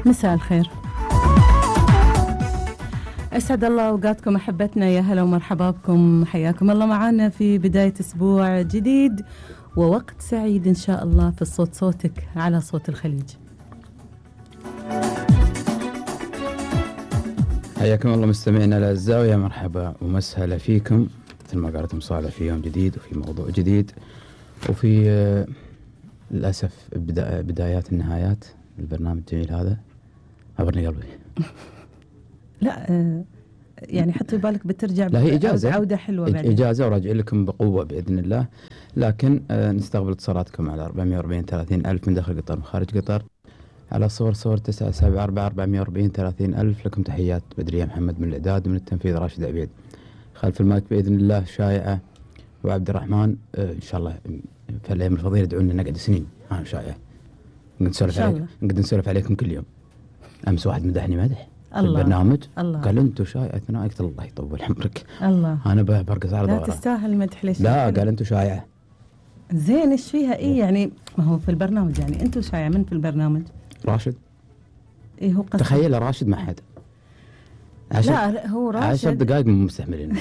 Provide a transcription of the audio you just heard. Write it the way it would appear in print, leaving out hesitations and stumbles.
مساء الخير، أسعد الله أوقاتكم أحبتنا، يا هلا ومرحبا بكم، حياكم الله معنا في بداية أسبوع جديد ووقت سعيد إن شاء الله في الصوت صوتك على صوت الخليج. حياكم الله مستمعينا الأعزاء، ويا مرحبا ومسهلا فيكم مثل ما قالت مصالح في يوم جديد وفي موضوع جديد وفي للأسف بدايات النهايات البرنامج الجميل هذا. عبرني قلبي. لا يعني حطي بالك بترجع، لا هي إجازة، عودة حلوة بعدين. إجازة وراجع لكم بقوة بإذن الله، لكن نستقبل اتصالاتكم على 440 30 ألف من داخل قطر ومن خارج قطر، على صور 974 440 30 ألف. لكم تحيات بدرية محمد من الإعداد ومن التنفيذ راشد عبيد. خلف المايك بإذن الله شائعة وعبد الرحمن. إن شاء الله في الأيام الفضيلة ادعونا نقعد سنين أنا شائعة نقدر نسولف عليكم كل يوم. أمس واحد مدحني مدح في البرنامج، قال أنتوا شائعة. أنا قلت الله يطول عمرك، الله أنا برقص على ظهره. لا تستاهل مدح ليش؟ لا قال أنتوا شائعة. زين إيش فيها إيه يعني؟ ما هو في البرنامج يعني أنتوا شائعة. من في البرنامج؟ راشد. إيه هو قصد؟ تخيل راشد ما حد. لا هو راشد 10 دقائق مستحملين.